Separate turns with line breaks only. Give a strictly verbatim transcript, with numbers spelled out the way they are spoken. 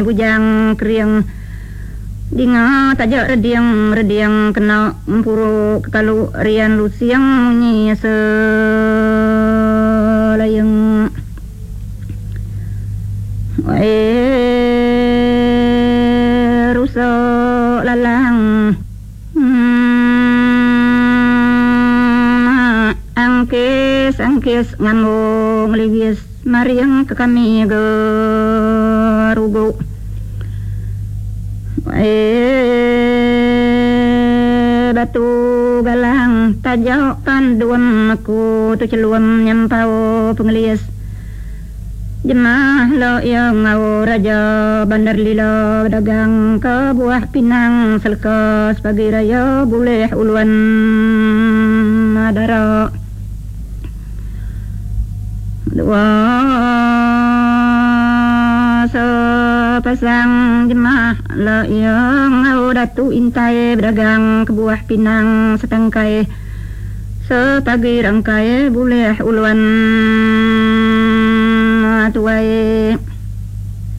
Bujang kering dinga taja reding reding kena empuru kekalu rian lusing munyi selayang. Wai rusa lalang hmm, angkis angkis ngambu ngeligis maring ke kami gerugu. Eh, batu galang taja panduam aku tu celum nyampau pengelias. Jemah lo ia ngau raja bandar lila dagang ke buah pinang selekas pagi raya bulih uluan madara. Dua sepasang jemah lo ia ngau datu intai berdagang ke buah pinang setangkai sepagi rangkai bulih uluan tuai.